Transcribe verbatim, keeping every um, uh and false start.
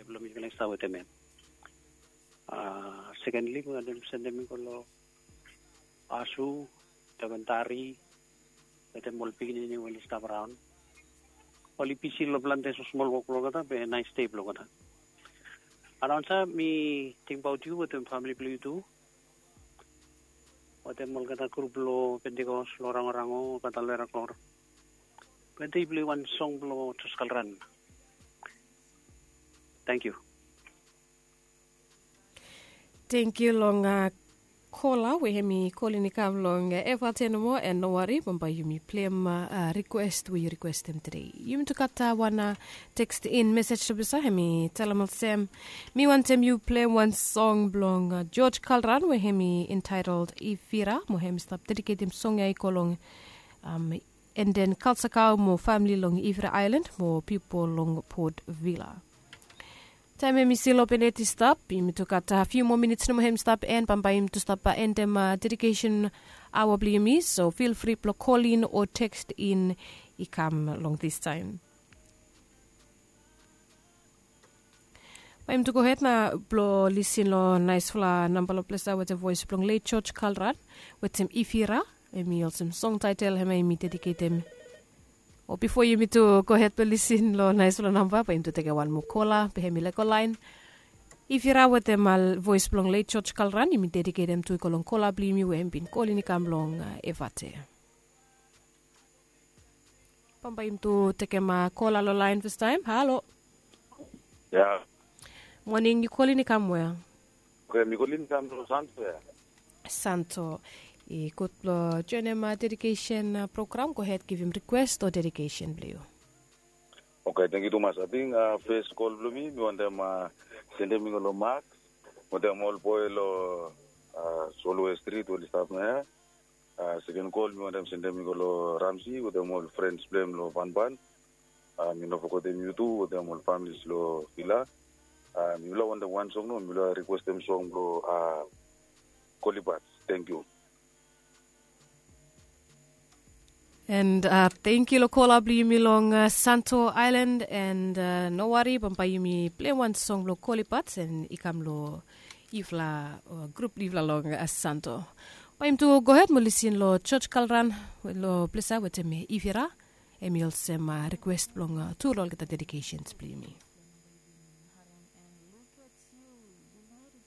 Blong mi kena stap wetem em. Sekendli mi wantem sendem i go long Asu, Daventari, wetem ol pikinini we oli stap raon. Oli bisi long plante smosmol wok blong olgeta be nais dei blong olgeta. Anaunsa, mi tingbaot yu wetem famili blong yu tu. Wetem olgeta grup blong Pentikos long Rangorango, olgeta Leraklor. Be dei plei wan song blong Jos Kalran. Tangkiu. Tangkiu long kola we hem i kolin i kam long evate nomo, and no wari, bambae yumi pleim rikwes we yu rikwestem tede. Yumi tu gat wan tekstin mesej, tobisa hem i talem olsem, mi wantem yu pleim wan song blong George Kalran we hem i entaetol Ifira, mo hem i stap dediketem song ya i go long Enden Kalsakau mo famili long Ifira Aelan mo pipol long Port Vila. Taem hem i stil openet i stap, yumi tu gat fiu moa minits nomo hem i stap en, bambae yumi tu stap endem dedikesen aoa blong yumi, so fil fri blong kolin o tekstin i kam long distaem. Bae yumi tu gohed na blong lisin long naesfala namba long ples ya wetem voes blong let George Kalran wetem Ifira, hem i olsem song taetel hemia yumi dediketem. O bifo yumi tu gohed blong lisin long naesfala namba, bae yumi tu tekem wan moa kola be hem i laek go laen. Ifira wetem voes blong let George Kalran yumi dediketem tu i go long kola blong yumi we hem bin kolin i kam long evate. Bambae yumi tu tekem kola long laen fastaem. Halo. Ya. Moning, yu kolin i kam wea? Oke, mi kolin i kam long Santo ya. Santo. I gud blong joenem dedikesen program, gohed givim rikwes o dedikesen blong yu. Oke, tangkiu tumas. Ating fes kol blong mi mi wantem sendem i go long Max wetem ol boe long Solway Strit we oli stap nao ya. Seken kol mi wantem sendem i go long Ramsi wetem ol frens blong hem long Banban. Mi no fogetem yu tu wetem ol familis long Vila. Mifala wantem wan song nomo, mifala rikwestem song blong Kolibats. Tangkiu. And tangkiu long kola blong yumi long Santo Aelan, and no wari, bambae yumi pleim wan song blong Kolibats and i kam long yufala, grup blong yufala long Santo. Bae yumi tu gohed mo lisin long George Kalran long ples ya wetem Ifira. Hem i olsem rikwes blong tu long olgeta dedikesens blong yumi.